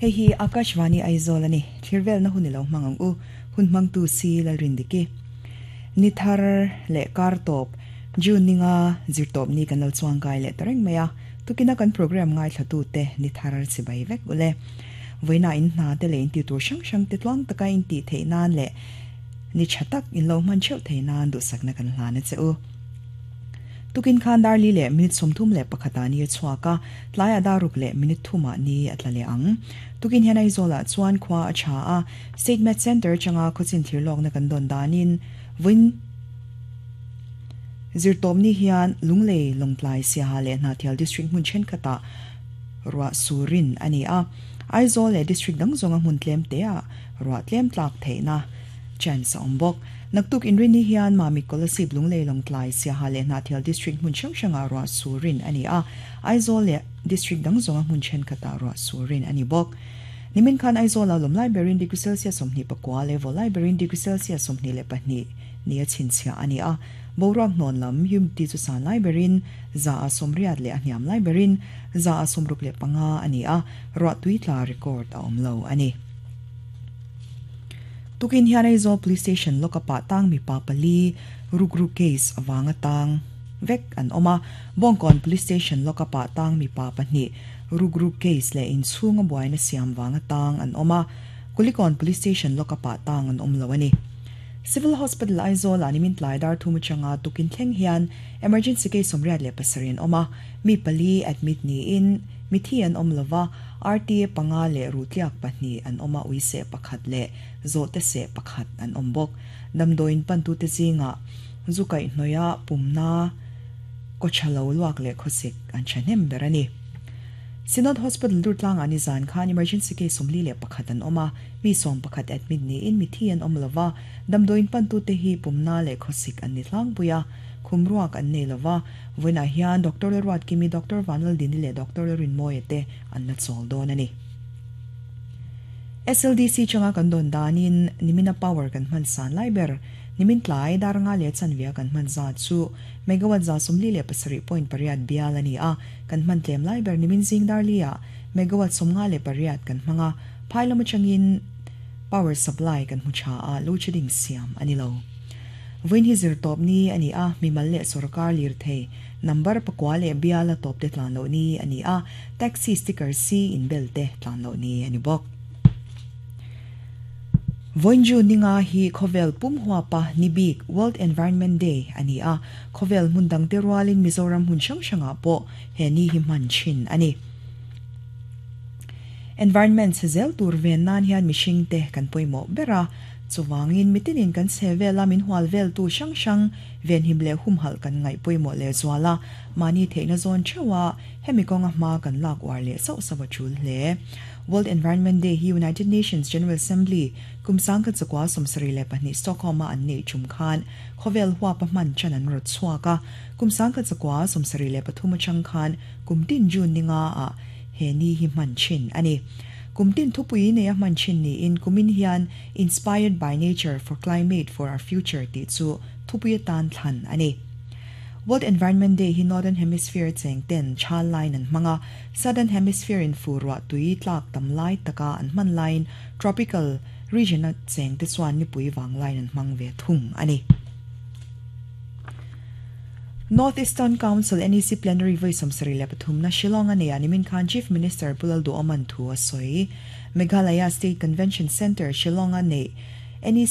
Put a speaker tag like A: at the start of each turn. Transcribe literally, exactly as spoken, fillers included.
A: Hei hi Akashvani Aizawl ani thirvel na hunilo mangang u hun mang tu si lalrindiki ni thar le kar top June ninga zirtop ni kan lo chuang kai le tareng maya tukina kan program ngai thlatu te ni thar chibai vek ule voina in hna te le in ti tur sang sang te tluang taka in ti thei nan le ni chatak in lo man cheu thei nan du sakna kan hlan che u tukin khan dar li le minute somthum le pakhata ni chuaka tlaya daruk le minute thuma ni atlale ang tukin hian Aizawl chuan khwa a cha a State Met Center changa khochin thirlok na kan don danin win zirtom ni hian lunglei longtlai siaha le hnahthial district hmun then khata ruwa surin ani a Aizawl le district dang zonga hmun tlem te a ruwa tlem tlak theina chance awm bawk naktuk inrin ni hian mami kolasib lunglei longtlai siaha le hnahthial district hmun hrang hranga ruwa surin ani a Aizawl le district dang zonga hmun then khata ruwa surin ani bawk nimin khan Aizawl a lawm library degree celsius sawmhnih pakua level library degree celsius sawmhnih le pahnih ni a chhinchhiah ani a boruak hnawn lam humidity chu san lai berin za a sawmriat leh a hniam lai berin za a sawmruk leh panga ani a ruah tui tla record a awm lo ani tukin hian Aizawl police station lokapa tang mi pa pali rukru case awanga tang vek an awma bongkon police station lokapa tang mi pa pahnih rukru case le in chhunga buaina siam wanga tang an awma kulikon police station lokapa tang an awm lo ani Civil Hospital Aizawl animin tlai dar thum changa tukin thleng hian emergency case somriat le pasarin oma mi pali admit ni in mithi an om lova R T A panga le rutliak pahnih an oma uise pakhat le zote se pakhat an om bok damdoin pan tu te zinga zukai hnoya pumna kochalo luak le khosik an chanem berani Synod Hospital Durtlang ani zan khan emergency case somli le pakhat an oma mi som pakhat admit ni in mithi an om lova damdoin pan tu te hi pumna le khosik an ni tlang puya khumruak an nei lova voina hian Doctor Ruat Kimi, Doctor Vanal Dini le Doctor Rin Moye te an la chol don ani S L D C changa kan don danin nimina power kan man san lai ber nimin tlai dar nga le chanvia kan man za chu megawatt za sumli le pasari point pariat bial ani a kan man tlem lai ber nimin zing dar lia megawatt somnga le pariat kan manga phailama changin power supply kan mucha a load shedding siam ani lo voin hi zir top ni ani a mimal le sarkar lir thei number pakwa le biala top te tlan lo ni ani a taxi sticker C in bel te tlan lo ni ani bok Voinju ninga hi khovel pum huapa nibik World Environment Day ani a khovel mundang te rualin Mizoram hun sang sanga po he ni hi man chin ani environment sezel tur ven nan hian mishing te kan poimo bera chuwangin mitinin kan chevela min hwal vel tu sang sang ven himle humhal kan ngai poimo le zwala mani theina zon chewa hemi konga ma kan lak war le sau sawa chul hle World Environment Day hi United Nations General Assembly kumsang ka chakwa somsari le pahnih Stockholm an nei chum khan khovel huwa pa man chan an rot chuaka kumsang ka chakwa somsari le pathuma chang khan kumtin June ninga a he ni hi man chin ani kumtin thupui ne a man chin ni in kumin hian "Inspired by Nature for Climate for Our Future" ti chu thupui tan thlan ani World Environment Day hi Northern Hemisphere cheng ten chal line an manga Southern Hemisphere in furwa tui tlak tam lai taka an man line tropical region a cheng te chuan ni pui wang line an mang ve thung ani North Eastern Council N E C plenary voi samsari le pathum na Shillong ani animin khan Chief Minister Pu Lalduhoma thu a soi Meghalaya State Convention Center Shillong ane N E C